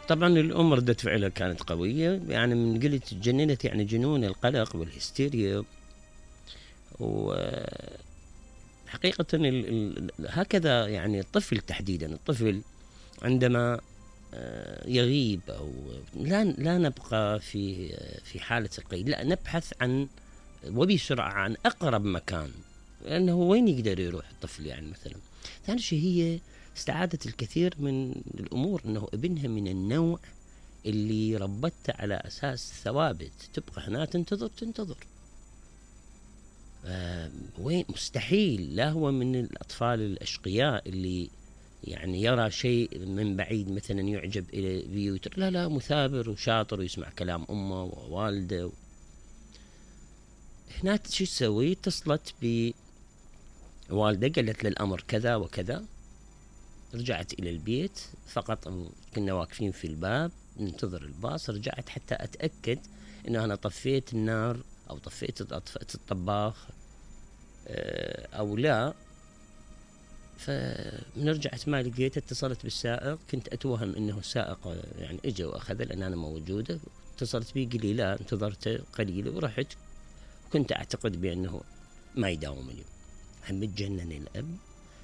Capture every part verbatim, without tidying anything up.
طبعا الأم ردة فعلها كانت قوية، يعني من قلت تجننت يعني جنون القلق والهستيريا. وحقيقة ال ال هكذا يعني الطفل تحديدا، الطفل عندما يغيب أو لا لا نبقى في في حالة القيد، لا نبحث عن وبسرعة عن أقرب مكان، لأنه وين يقدر يروح الطفل يعني مثلا. ثاني شيء هي استعادت الكثير من الأمور، أنه ابنها من النوع اللي ربته على أساس ثوابت، تبقى هنا تنتظر تنتظر آه وين مستحيل. لا هو من الأطفال الأشقياء اللي يعني يرى شيء من بعيد مثلا يعجب إلى بيوتر، لا لا مثابر وشاطر ويسمع كلام أمه ووالده. هنا شو تسوي؟ اتصلت بوالده قالت له الأمر كذا وكذا. رجعت إلى البيت، فقط كنا واقفين في الباب ننتظر الباص. رجعت حتى أتأكد إنه أنا طفيت النار أو طفيت أطفأت الطباخ أو لا. فمن رجعت ما لقيت، اتصلت بالسائق، كنت أتوهم إنه السائق يعني إجا وأخذ لأن أنا موجودة. اتصلت بي قال لي لا انتظرت قليل ورحت، كنت أعتقد بأنه ما يداوم اليوم. هم تجنن الأب،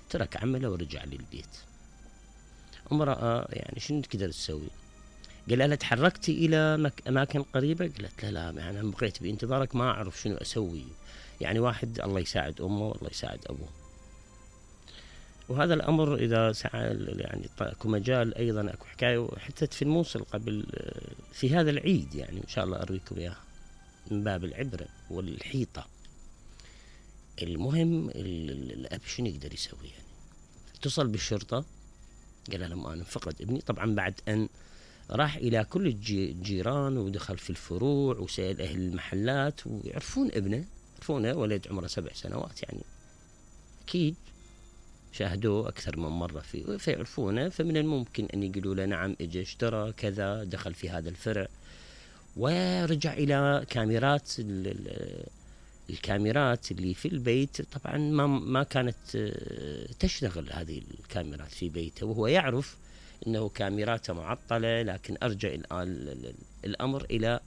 ترك عمله ورجع للبيت. امرأة يعني شنو تقدر تسوي؟ قال لها تحركتي إلى مك... أماكن قريبة؟ قالت لا لا يعني أنا بقيت بانتظارك ما أعرف شنو أسوي. يعني واحد الله يساعد أمه والله يساعد أبوه. وهذا الأمر إذا سعى يعني أكو مجال أيضا أكو حكاية حتى في الموصل قبل في هذا العيد، يعني إن شاء الله أرويكم إياها من باب العبرة والحيطة. المهم الأب شنو يقدر يسوي يعني؟ اتصل بالشرطة، قال لهم أنا فقد ابني. طبعا بعد أن راح إلى كل الجيران ودخل في الفروع وسأل أهل المحلات ويعرفون ابنه، يعرفونه ولد عمره سبع سنوات يعني أكيد شاهدوه أكثر من مرة فيه فيعرفونه. فمن الممكن أن يقولوا له نعم إجا اشترى كذا دخل في هذا الفرع. ورجع إلى كاميرات الكاميرات اللي في البيت. طبعا ما ما كانت تشتغل هذه الكاميرات في بيته، وهو يعرف انه كاميراته معطلة، لكن ارجع الامر الى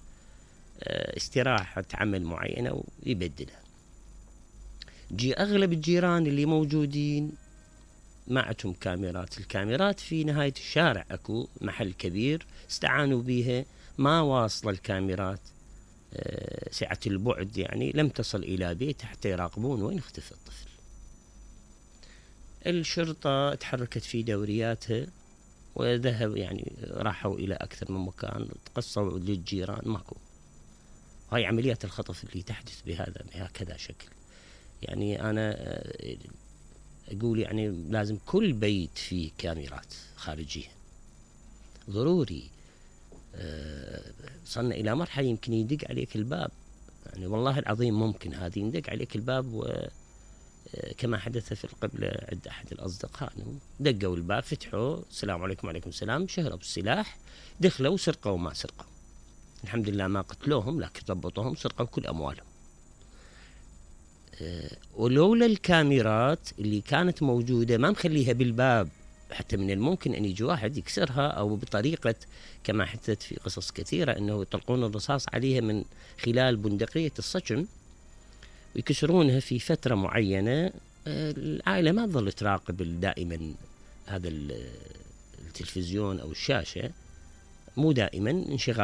استراحة عمل معينة ويبدلها. جي اغلب الجيران اللي موجودين ما عندهم كاميرات. الكاميرات في نهاية الشارع اكو محل كبير استعانوا بها، ما واصل الكاميرات سعة البعد، يعني لم تصل إلى بيت حتى يراقبون وين اختفى الطفل. الشرطة تحركت في دورياتها وذهب يعني راحوا إلى أكثر من مكان، تقصوا للجيران ماكو. هاي عمليات الخطف اللي تحدث بهذا بهكذا شكل. يعني أنا أقول يعني لازم كل بيت فيه كاميرات خارجية ضروري. صلنا إلى مرحلة يمكن يدق عليك الباب، يعني والله العظيم ممكن هذه يدق عليك الباب، وكما حدث في القبلة عند أحد الأصدقاء دقوا الباب فتحوا السلام عليكم وعليكم السلام، شهروا بالسلاح دخلوا سرقوا ما سرقوا. الحمد لله ما قتلوهم لكن ضبطوهم سرقوا كل أموالهم. ولولا الكاميرات اللي كانت موجودة ما مخليها بالباب، حتى من الممكن أن يجي واحد يكسرها أو بطريقة كما حدثت في قصص كثيرة أنه يطلقون الرصاص عليها من خلال بندقية الصجن ويكسرونها في فترة معينة. العائلة ما تظل تراقب دائما هذا التلفزيون أو الشاشة، مو دائما انشغال